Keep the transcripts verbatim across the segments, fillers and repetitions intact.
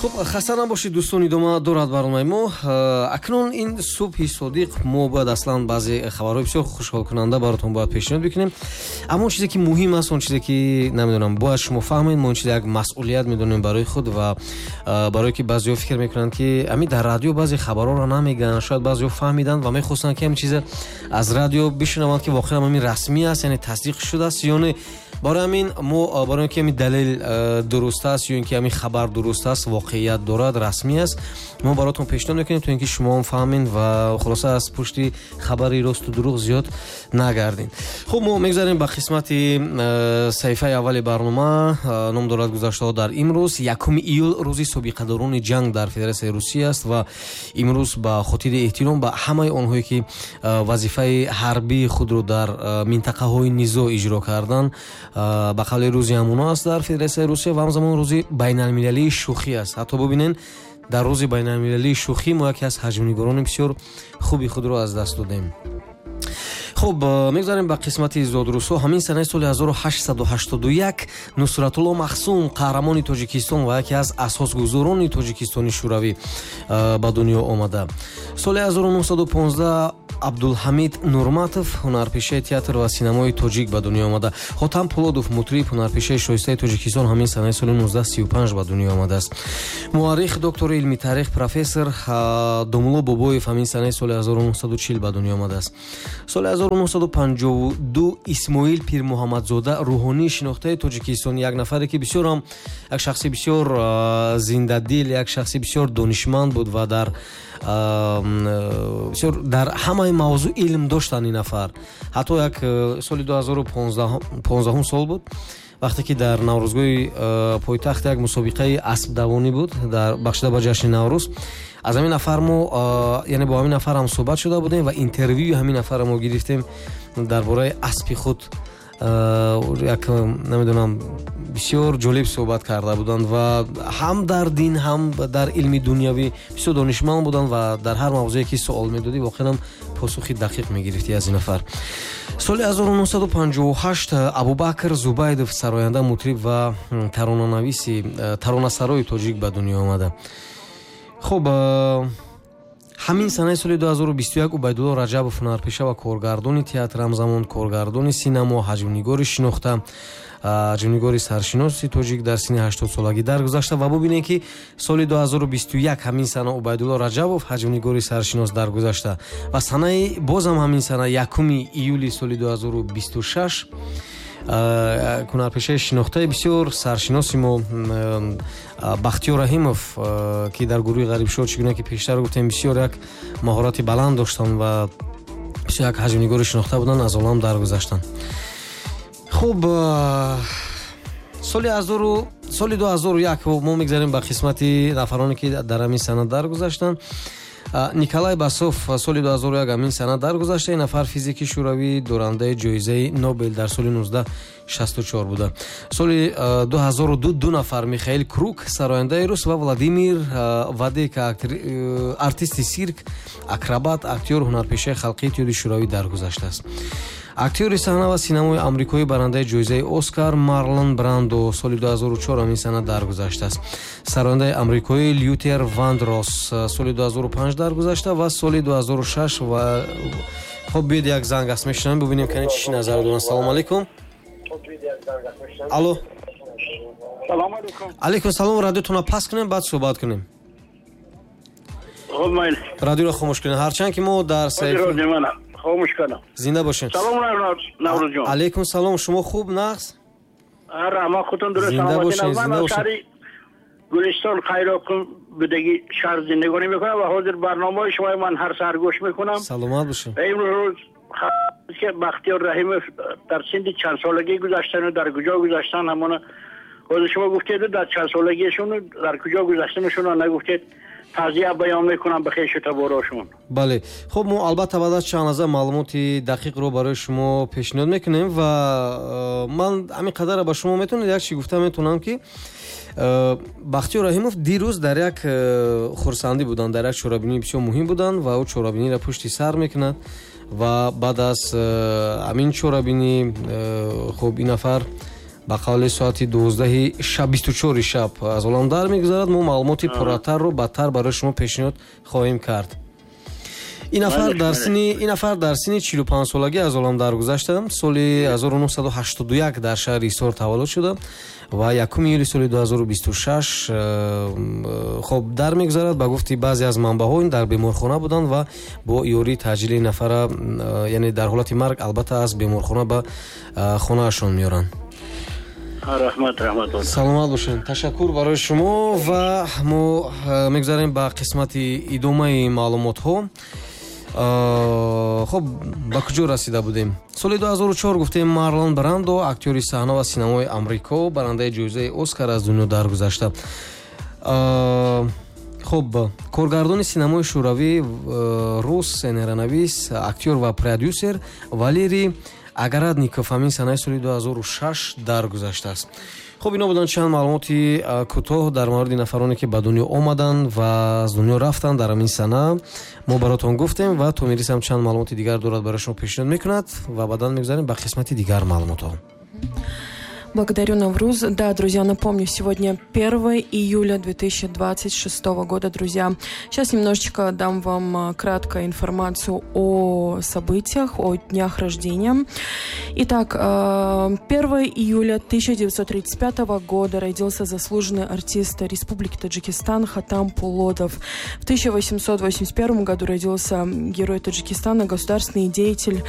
Хуб, хаста набошед, дӯстон, идома дорад барномаи мо. Акнун ин субҳи содиқ мо бояд аслан баъзе хабарҳои бисёр хушҳолкунанда баротон бояд пешниҳод бикунем. Аммо он чизе ки муҳим аст, он чизе ки намедонам бояд шумо фаҳмед, мо он чизе як масъулият медонем барои худ ва барое ки баъзеҳо фикр мекунанд, ки ҳамин дар радио баъзе хабарҳоро намегӯянд, шояд баъзеҳо фаҳмиданд ва мехостанд, ки ҳамин чизе аз радио бишунаванд, ки воқеан ҳамин расмӣ аст, яъне тасдиқ шудааст ё не. Барои ҳамин мо, барои ин ки ҳамин далел дуруст аст ё ин ки ҳамин хабар дуруст аст, воқеият дорад, расмӣ аст, мо баротон пешниҳод мекунем, то ин ки шумо ҳам фаҳмед ва хулоса аз пушти хабари росту дурӯғ зиёд нагардед. Хуб, мо мегузарем ба қисмати саҳифаи аввали барнома. Ном дорад «Гузаштаҳо дар имрӯз». Якуми июл рӯзи собиқадорони ҷанг дар Федератсияи Русия аст ва имрӯз ба хотири эҳтиром ба ҳамаи онҳое, ки вазифаи ҳарбии худро дар минтақаҳои низоъ иҷро карданд, ба қавли рӯзи ҳамоно аст дар Федератсияи Русия ва ҳамзамон рӯзи байналмилалии шӯхӣ аст. Ҳатто бубинен, дар рӯзи байналмилалии шӯхӣ мо яке аз ҳаҷмнигорони бисёр хуби худро аз даст додем. Хуб, мегузарем ба қисмати зодрӯзҳо. Ҳамин санаи соли ҳазору ҳаштсаду ҳаштоду як Нусратулло Махсум, қаҳрамони Тоҷикистон ва яке аз асосгузорони Тоҷикистони Шӯравӣ, ба дунё омада. Соли ҳазору нӯҳсаду понздаҳ Абдулҳамид Нурматов, ҳунарпешаи театр ва синамои тоҷик, ба дунё омада. Хотам Пулодов, мутриб, ҳунарпешаи шоистаи Тоҷикистон, ҳамин санаи соли ҳазору нӯҳсаду сию панҷ ба дунё омадааст. Муаррих, доктори илми таърих, профессор Домулло Бобоев ҳамин санаи соли ҳазору нӯҳсаду чил ба дунё омадааст. Соли ҳазору нӯҳсаду панҷоҳу ду Исмоил Пирмуҳаммадзода, рӯҳонии шинохтаи Тоҷикистон, як нафаре ки бисёр ҳам як шахси бисёр зиндадил, як шахси бисёр донишманд буд ва дар бисёр дар ҳамаи мавзӯъ илм доштанд ин нафар. Ҳатто як соли дуҳазору понздаҳум сол буд, вақте ки дар Наврӯзгоҳи пойтахт як мусобиқаи аспдавонӣ буд, дар бахшида ба ҷашни Наврӯз, аз ҳамин нафар мо, яъне бо ҳамин нафар ҳам суҳбат шуда будем ва интервюи ҳамин нафарро мо гирифтем дар бораи аспи худ. Як намедонам, бисёр ҷолиб суҳбат карда буданд ва ҳам дар дин, ҳам дар илми дунявӣ бисёр донишманд буданд ва дар ҳар мавзӯе ки суол медодӣ, воқеан посухи дақиқ мегирифтӣ аз ин нафар. Соли ҳазору нӯҳсаду панҷоҳу ҳашт Абубакр Зубайдов, сароянда, мутриб ва таронанависи, таронасарои тоҷик ба дунё омада. Хуб, ҳамин санаи соли ду ҳазору бисту як Убайдулло Раҷабов, ҳунарпеша ва коргардони театр, ҳамзамон коргардони синамо, ҳаҷвнигори шинохта, ҳаҷвнигори саршиноси тоҷик дар синни ҳаштодсолагӣ даргузашта. Ва бубинед, ки соли ду ҳазору бисту як ҳамин сана Убайдулло Раҷабов, ҳаҷвнигори саршинос, даргузашта ва санаи бозам ҳамин сана, якуми июли соли ду ҳазору бисту шаш, ҳунарпешаи шинохтаи бисёр саршиноси мо Бахтиёр Раҳимов, ки дар гурӯҳи Ғарибшоҳ, чӣ гуна ки пештар гуфтем, бисёр як маҳорати баланд доштанд ва бисёр як ҳаҷвнигори шинохта буданд, аз олам даргузаштанд. Хуб, соли соли ду ҳазору як мо мегзарем ба қисмати нафароне, ки дар ҳамин сана даргузаштанд. Николай Басов соли ду ҳазору як ҳамин сана даргузашта. Ин нафар физики шӯравӣ, дорандаи ҷоизаи Нобел дар соли ҳазору нӯҳсаду шасту чор буда. Соли ду ҳазору ду ду нафар: Михаил Круг, сарояндаи рус, ва Владимир Вадейко, артисти сирк, акробат, актёр, ҳунарпешаи халқии Иттиҳоди Шӯравӣ даргузаштааст. Актёри саҳна ва синамои амрикоӣ, барандаи ҷоизаи Оскар Марлон Брандо соли ду ҳазору чор ҳамин сана даргузаштааст. Сарояндаи амрикоӣ Лютер Вандрос соли ду ҳазору панҷ даргузашта ва соли ду ҳазору шаш ва хоб, биёед, як занг аст, мешунавем, бубинем, кани чӣ назар доранд. Салому алейкум, алло. Алейкум салом. Радиотонро паст кунем, баъд суҳбат кунем. Радиоро хомӯш кунем, ҳарчанд ки мо дар Хомӯш кардам. Зинда бошед. Салом, Наврӯзҷон. Алейкум салом. Шумо хуб, нағз? Раҳмат, худтон дуруст. Зинда бошед, зинда бошед. Гулистон, Қайроққум будагӣ шаҳр зиндагонӣ мекунам ва ҳозир барномаҳои шумои ман ҳар саҳар гӯш мекунам. Саломат бошед. Имрӯз ки Бахтиёр Раҳимов дар синни чанд солагӣ гузаштану дар куҷо гузаштан, ҳамона ҳозир шумо гуфтед, дар чанд солагиашон, дар куҷо гузаштанашонро нагуфтед. Тазия баён мекунам ба хешу таборошон. Бале, хуб, мо албатта баъд аз чанд лаҳза маълумоти дақиқро барои шумо пешниҳод мекунем ва э, ман ҳамин қадарро ба шумо метавонед як чи гуфта метавонам, ки э, Бахтиёр Раҳимов дирӯз дар як э, хурсандӣ буданд, дар як чорабинии бисёр муҳим буданд ва ӯ чорабиниро пушти сар мекунад ва баъд аз ҳамин чорабинӣ, хуб, ин нафар Ба қавли соати дувоздаҳи шаб, бисту чори шаб аз олам дар мегузарад. Мо маълумоти пурратарро бадтар барои шумо пешниҳод хоҳем кард. Ин нафар дар синни ин нафар дар синни чилу панҷ солагӣ аз олам даргузашта. Соли ҳазору нӯҳсаду ҳаштоду як дар шаҳри Ҳисор таваллуд шуда ва якуми июли соли ду ҳазору бисту шаш хоб дар мегузарад. Ба гуфти баъзе аз манбаъҳо ин дар беморхона буданд ва бо ёрии таъҷили нафара, яъне дар ҳолати марг албатта аз беморхона ба хонаашон меоранд. Раҳмат, раҳмат. Саломат бошед. Ташаккур барои шумо ва мо мегузарем ба қисмати идомаи маълумотҳо. Хоб, ба куҷо расида будем? Соли ду ҳазору чор гуфтем Марлон Брандо, актёри саҳна ва синамои Амрико, барандаи ҷоизаи Оскар аз дунё даргузашта. Хоб, коргардони синамои шӯравӣ, рус, сценаронавис, актёр ва продюсер Валерий Агарадников ҳамин санаи соли ду ҳазору шаш даргузаштааст. Хоб, ино буданд чанд маълумоти кӯтоҳ дар мавриди нафароне ки ба дунё омаданд ва аз дунё рафтанд дар ҳамин сана. Мо баротон гуфтем ва Томирис ҳам чанд маълумоти дигар дорад барои шумо пешниҳод мекунад ва баъдан мегузарем ба қисмати дигар маълумотҳо. Благодарю, Навруз. Да, друзья, напомню, сегодня первое июля две тысячи двадцать шестого года, друзья. Сейчас немножечко дам вам краткую информацию о событиях, о днях рождения. Итак, первого июля тысяча девятьсот тридцать пятого года родился заслуженный артист Республики Таджикистан Хатам Пулодов. В тысяча восемьсот восемьдесят первом году родился герой Таджикистана, государственный деятель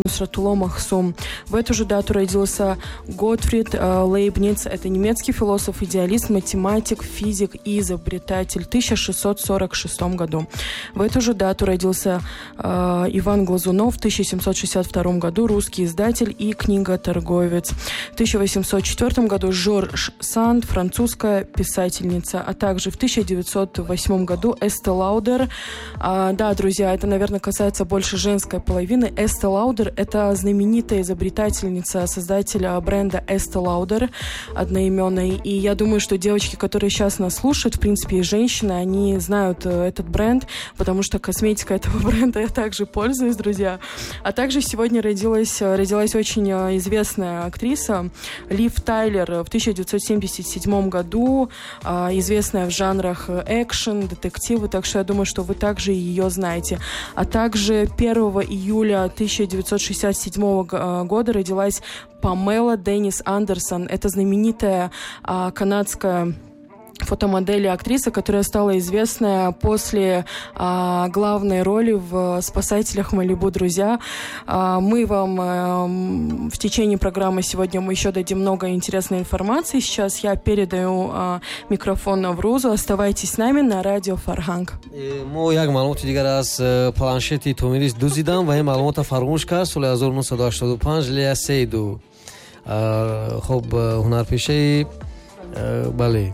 Нусратулло Махсум. В эту же дату родился Готфрид Лейбниц, это немецкий философ, идеалист, математик, физик и изобретатель в тысяча шестьсот сорок шестом году. В эту же дату родился э, Иван Глазунов в тысяча семьсот шестьдесят втором году, русский издатель и книготорговец. В тысяча восемьсот четвертом году Жорж Санд, французская писательница, а также в тысяча девятьсот восьмом году Эсте Лаудер. А, да, друзья, это, наверное, касается больше женской половины. Эсте Лаудер – это знаменитая изобретательница, создателя бренда Эсте Лаудер одноименной. И я думаю, что девочки, которые сейчас нас слушают, в принципе, и женщины, они знают этот бренд, потому что косметика этого бренда я также пользуюсь, друзья. А также сегодня родилась, родилась очень известная актриса Лив Тайлер в тысяча девятьсот семьдесят седьмом году, известная в жанрах экшен, детективы, так что я думаю, что вы также ее знаете. А также первого июля тысяча девятьсот шестьдесят седьмого года родилась Памела Деннис Андерсон. Это знаменитая а, канадская фотомодель и актриса, которая стала известна после а, главной роли в «Спасателях Малибу», друзья. А, мы вам а, в течение программы сегодня мы еще дадим много интересной информации. Сейчас я передаю а, микрофон Наврузу. Оставайтесь с нами на радио Фарханг. Мо як маълумоти дигар аз планшети Томирис дуздидам ва ин маълумотро фаромӯш кард. Соли ҳазору нӯҳсаду ҳаштоду панҷ Лея Сейду, хоб, ҳунарпешаи, бале,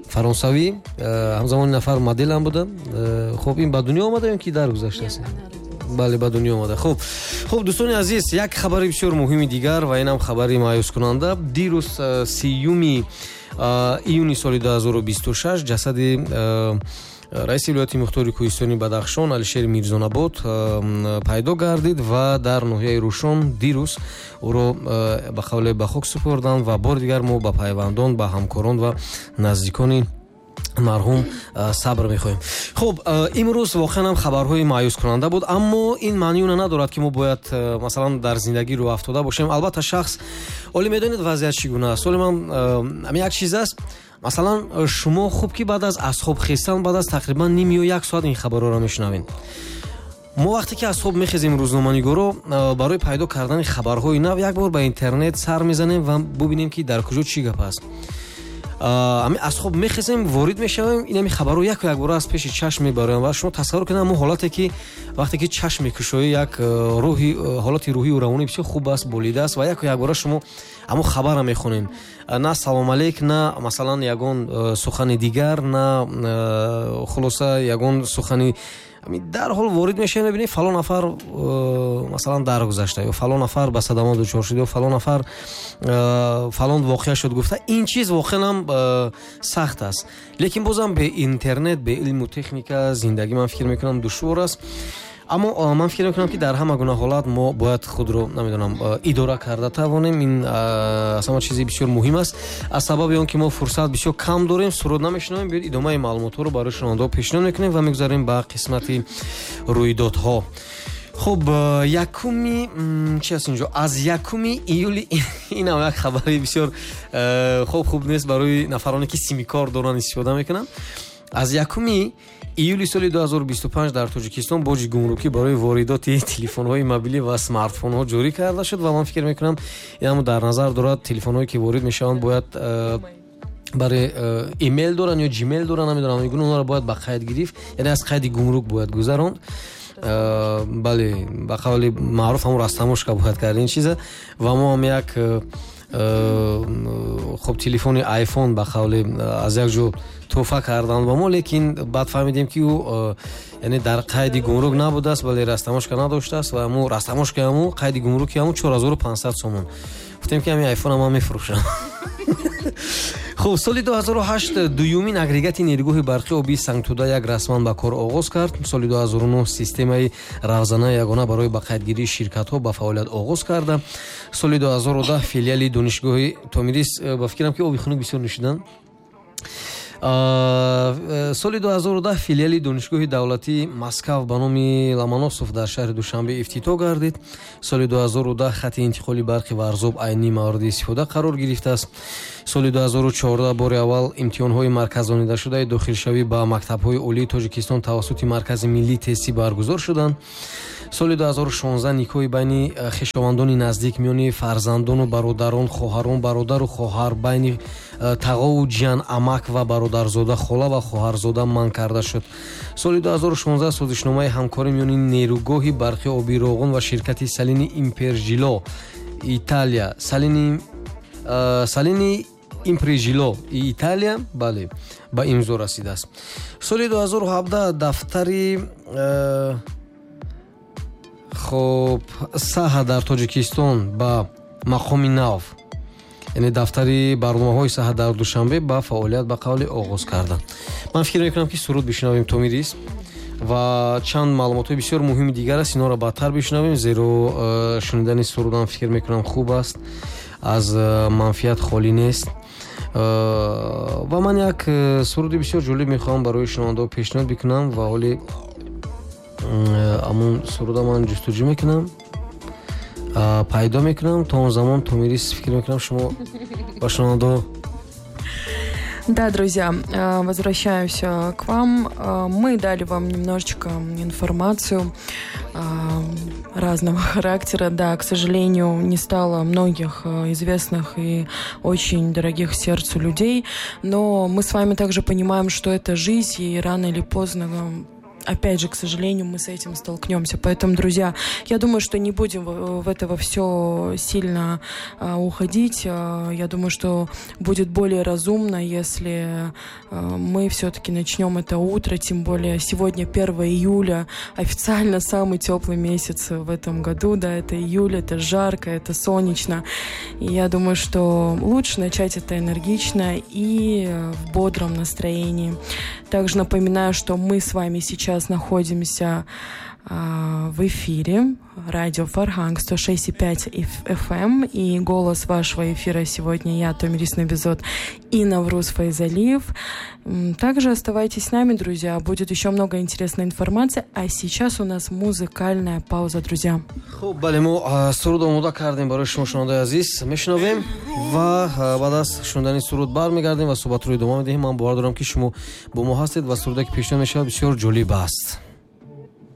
фаронсавӣ, ҳамзамон нафар модел ҳам буда. Хоб, ин ба дунё омада ё ки даргузаштааст? Бале, ба дунё омада. Хоб, хоб, дӯстони азиз, як хабари бисёр муҳими дигар ва инам хабари маъюскунанда. Дирӯз сиюми июни соли ду ҳазору бисту шаш ҷасади раиси вилояти мухтори кӯҳистони Бадахшон Алишер Мирзонабод пайдо гардид ва дар ноҳияи Рӯшон дирӯз ӯро ба қавле ба хок супурданд ва бори дигар мо ба пайвандон, ба ҳамкорон ва наздикони марҳум сабр мехоҳем. Хуб, имрӯз воқеан ҳам хабарҳои маъюскунанда буд, аммо ин маънии онро надорад ки мо бояд масалан дар зиндагӣ рӯ афтода бошем. Албатта шахс оле медонед вазъият чӣ гуна аст. Оле ман ҳамин як чиз аст. Масалан, шумо хуб ки баъд аз аз хоб хестан, баъд аз тақрибан ним ё як соат ин хабарҳоро мешунавед. Мо вақте ки аз хоб мехезем, рӯзноманигоро барои пайдо кардани хабарҳои нав як бор ба интернет сар мезанем ва бубинем ки дар куҷо чӣ гап аст. Ами аз хоб мехезем, ворид мешавем, ин ами хабарҳо яку якбора аз пеши чашм мебароянд ва шумо тасаввур кунед ҳамон ҳолате ки вақте ки чашм мекушоӣ, як рӯҳи, ҳолати рӯҳию равонӣ бисёр хуб аст, болида аст ва яку якбора шумо ҳамон хабарро мехонед. На салом алейк, на масалан ягон сухани дигар, на хулоса ягон сухани. Дарҳол ворид мешавем, мебинем фалон нафар масалан даргузашта ё фалон нафар ба садама дучор шуд ё фалон нафар фалон воқеа шуд гуфта. Ин чиз воқеан ҳам сахт аст, лекин бозам бе интернет, бе илму техника зиндагӣ ман фикр мекунам душвор аст. Аммо ман фикр мекунам, ки дар ҳама гуна ҳолат мо бояд худро, намедонам, идора карда тавонем. Ин аз ҳама чизи бисёр муҳим аст. Аз сабаби он ки мо фурсат бисёр кам дорем, суруд намешунавем, биёед идомаи маълумотҳоро барои шунавандаҳо пешниҳод мекунем ва мегузарем ба қисмати рӯйдодҳо. Хуб, якуми чи аст инҷо? Аз якуми июли, инам як хабари бисёр хуб хуб нест барои нафароне ки симикор доранд, истифода мекунанд. Аз якуми июли соли ду ҳазору бисту панҷ дар Тоҷикистон боҷи гумрукӣ барои воридоти телефонҳои мобилӣ ва смартфонҳо ҷорӣ карда шуд ва ман фикр мекунам, инам дар назар дорад телефонҳое ки ворид мешаванд бояд барои имейл доранд ё Gmail доранд, намедонам, мегӯянд онҳоро бояд ба қайд гирифт, яъне аз қайди гумрук бояд гузаронд. Бале, ба қавли маъруф ҳамон растамошка бояд кард ин чиза. Ва мо ҳам як хуб телефони айфон ба қавли аз як ҷо тӯҳфа карданд ба мо, лекин баъд фаҳмидем ки ӯ яъне дар қайди гумрук набудааст, вале растамошка надоштааст ва мо растамошка ҳамун қайди гумруки ҳамун чор ҳазору панҷсад сомон. Гуфтем ки ҳамин айфонро ман мефурӯшам. Хуб, соли ду ҳазору ҳашт дуюмин агрегати нерӯгоҳи барқи обии Сангтуда як расман ба кор оғоз кард. Соли ду ҳазору нӯҳ системаи равзанаи ягона барои ба қайдгирии ширкатҳо ба фаъолият оғоз карда. Соли ду ҳазору даҳ филиали донишгоҳи Томирис, ба фикрам ки оби хунук бисёр нӯшиданд. Соли ду ҳазору даҳ филиали донишгоҳи давлатии Москав ба номи Ломоносов дар шаҳри Душанбе ифтитоҳ гардид. Соли ду ҳазору даҳ хати интиқоли барқи Варзоб айнӣ мавриди истифода қарор гирифтааст. Соли ду ҳазору чордаҳ бори аввал имтиҳонҳои марказонидашудаи дохилшавӣ ба мактабҳои олии Тоҷикистон тавассути Маркази миллии тестӣ баргузор шуданд. Соли ду ҳазору шонздаҳ никоҳи байни хешовандони наздик миёни фарзандону бародарон, хоҳарон, бародару хоҳар, байни тағову ҷиян, амак ва бародарзода, хола ва хоҳарзода манъ карда шуд. Соли ду ҳазору шонздаҳ созишномаи ҳамкорӣ миёни нерӯгоҳи барқи обии Роғун ва ширкати Салини Импержило Италия, Салини Салини Импрежило Италия, бале, ба имзо расидааст. Соли ду ҳазору ҳабдаҳ дафтари хуб саҳа дар Тоҷикистон ба мақоми нав, яъне дафтари барномаҳои саҳа дар Душанбе ба фаъолият ба қавли оғоз карданд. Ман фикр мекунам ки суруд бишнавем Томирис ва чанд маълумотҳои бисёр муҳими дигар аст, инҳоро баъдтар бишнавем, зеро шунидани сурудам фикр мекунам хуб аст, аз манфиат холӣ нест. Ва ман як суруди бисёр ҷолиб мехоҳам барои шунавандаҳо пешниҳод бикунам ва ҳоли амон суруда ман ҷустуҷӯ мекунам, пайдо мекунам. То он замон Томирис фикр мекунам шумо ба шунавандаҳо. Да, друзья, возвращаюсь к вам. Мы дали вам немножечко информацию разного характера. Да, к сожалению, не стало многих известных и очень дорогих сердцу людей, но мы с вами также понимаем, что это жизнь, и рано или поздно, опять же, к сожалению, мы с этим столкнемся. Поэтому, друзья, я думаю, что не будем в это все сильно уходить. Я думаю, что будет более разумно, если мы все-таки начнем это утро, тем более сегодня первое июля, официально самый теплый месяц в этом году, да, это июль, это жарко, это солнечно. И я думаю, что лучше начать это энергично и в бодром настроении. Также напоминаю, что мы с вами сейчас находимся э, в эфире радио Фарханг сто шесть и пять эф эм, и голос вашего эфира сегодня я, Томирис Набизод, и Навруз Файзалиев. Также оставайтесь с нами, друзья, будет еще много интересной информации, а сейчас у нас музыкальная пауза, друзья. Хуб, бале, мо суруд омода кардем барои шумо, шунавандаи азиз, мешунавем ва баъд аз шунидани суруд бармегардем ва суҳбатро идома медиҳем. Ман бовар дорам, ки шумо бо мо ҳастед ва суруде ки пешниҳод мешавад бисёр ҷолиб аст.